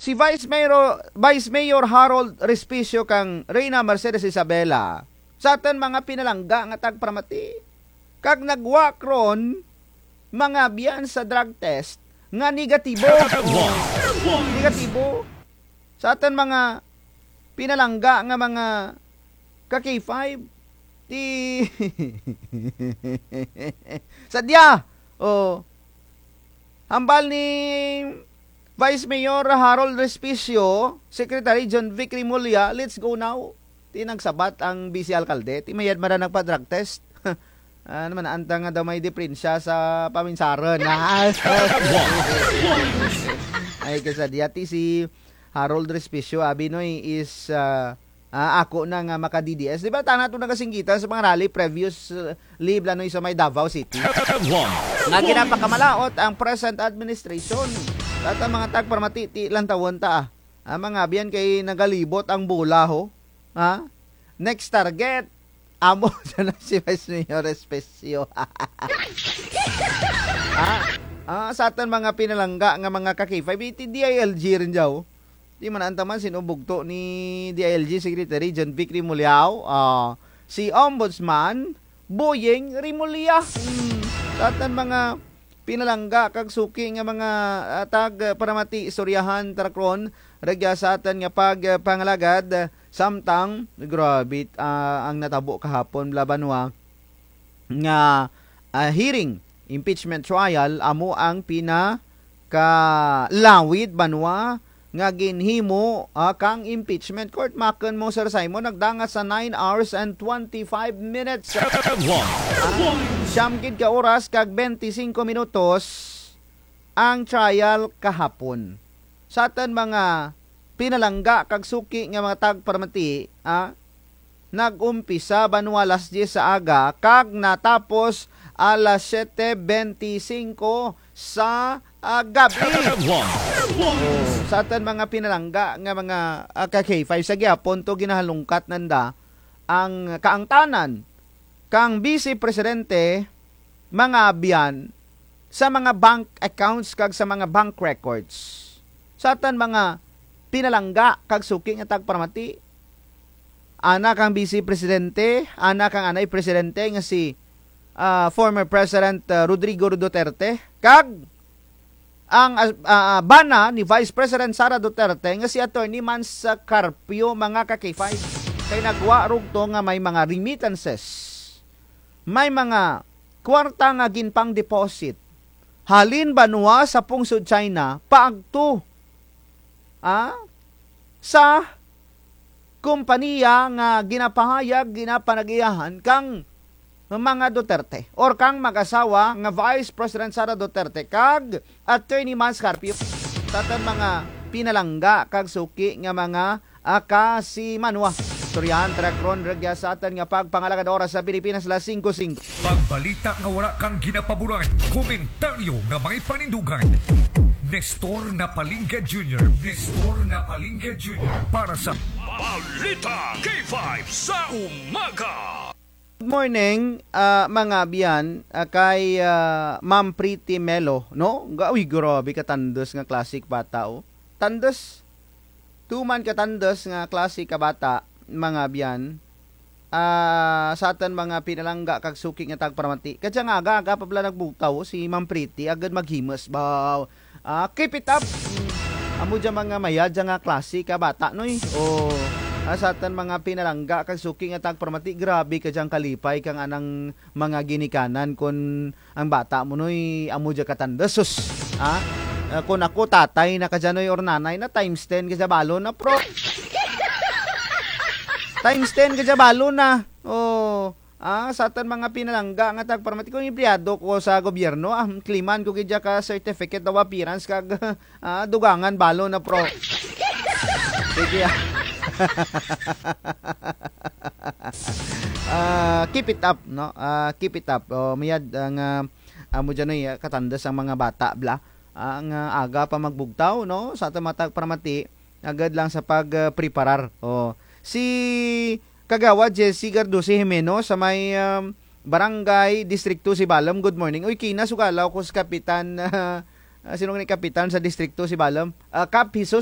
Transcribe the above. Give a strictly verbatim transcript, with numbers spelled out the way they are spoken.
Si Vice Mayor, Vice Mayor Harold Respicio kang Reyna Mercedes Isabela, sa atun mga pinalangga nga tagparamati, kag nagwa karon, mga abyan, sa drug test nga negatibo. Negatibo. Sa atun mga pinalangga nga mga ka K five, ti sadya, o, hambal ni Vice Mayor Harold Respicio, Secretary John Vic Remulla, let's go now. Ti nagsabat ang vice alkalde, ti mayad man ra nagpa-drug test. Ano man, anta nga daw may diperensya sa paminsaron. Ah, ay, kasadya, ti si Harold Respicio, abi, Noy, is, ah, ah, ako na nga maka-D D S. Di ba, tana to nagasinggitan sa mga rally previous, uh, leave, Noy, sa may Davao City? Nga ginapakamalaot ang present administration. At ang mga tagparamati, ti lantawon ta, ah. Ang mga abyan kay nagalibot ang bola, ho. Ha? Next target, amo dyan na si Vice Mayor Especio. Ha? Ah, sa atun mga pinalangga nga mga ka-K five, ti D I L G run dya, o. Ti man anta man sin-o bugto ni D I L G Secretary John Vic Remuliao, ah, si Ombudsman Boying Remulla. Hmm, sa atun mga pinalangga kag suki nga mga, ah, tagparamati, istoryahan ta ra karon, rugya sa atun nga pagpangalagad, samtang, grabe, ah, ang natabo kahapon, bala, banwa, nga, ah, hearing, impeachment trial, amo ang pinakalawid, banwa, nga ginhimo, ah, kang impeachment court. Makun mo, Sir Simon, nagdangat sa nine hours and twenty-five minutes. Ah, siyam gid ka oras kag bente singko minutos ang trial kahapon. Sa atun mga pinalangga kag suki nga mga tagparamati, ah, nag-umpisa banwa alas dyes sa aga, kag natapos alas siyete bente singko sa, ah, gabi. O, sa atun mga pinalangga nga mga, ah, ka-K five, sa gihapon to ginahalungkat nanda ang kaangtanan kang Vice Presidente, mga abyan, sa mga bank accounts kag sa mga bank records. Sa atun mga pinalangga kag suki nga tagparamati, ana kang Vice Presidente, ana kang anay Presidente nga si, ah, former President, ah, Rodrigo Duterte, kag ang, ah, ah, bana ni Vice President Sara Duterte nga si Attorney Mans Carpio, mga ka-K five. Kay nagwa rugto nga may mga remittances, may mga kwarta nga ginpang-deposit halin banwa sa pungsod China, paagto, ah, sa kompanya nga ginapahayag, ginapanag-iyahan kang mga Duterte or kang mag-asawa nga Vice President Sara Duterte kag Attorney Mans Carpio. Sa atun mga pinalangga kag suki nga mga, ah, kasimanwa. Istoryahan ta ra karon rugya sa atun nga pagpangalagad, oras sa Pilipinas, alas singko singko. Pagbalita nga wara kang ginapaboran, komentaryo nga may panindugan. Nestor Napalingga Junior, Nestor Napalingga Junior, para sa Balita K five sa umaga. Good morning, ah, mga abyan, ah, kay, ah, Ma'am Pretty Melo, no? Ga-, uy, grabe katandus nga klase ka bata, o. Tandus. Tuman katandus nga klase ka bata, mga abyan. Ah, sa atun mga pinalangga kag suki nga tagparamati. Kadya nga aga, aga pa bala nagbugtaw si Ma'am Pretty, agud maghimus, baw. Ah, keep it up. Mm. Amo dya mga mayad dya nga klase ka bata, Noy. O, ah, sa atun mga pinalangga kag suki nga tagparamati, grabe ka dyang kalipay kang anang mga ginikanan kon ang bata mo, Noy, amo dya katandus, sus. Ha? Ah, kon ako, tatay na kadya, Noy, or nanay na, times ten kadya balo na, pro. Times ten kadya balo na. O, ah, sa atun mga pinalangga nga tagparamati, kon empleyado ko sa gobyerno, ah, kliman ko gid dya ka certificate of appearance kag, ah, dugangan balo na, pro. Sige, ah. Ah, keep it up, no? Ah, keep it up. O, mayad, ah, nga, amo dya, Noy, ah, katandus ang mga bata bala. Ah, nga aga pa magbugtaw, no? Sa atun mga tagparamati, agud lang sa pag, ah, preparar. O, si Kagawad Jesse Garduce Jimeno sa may, um, Barangay Districto Sibalom, good morning. Uy, kina sugalaw ko si Kapitan, ah, sin-o gani Kapitan sa Districto Sibalom? Ah, Kap Jesus.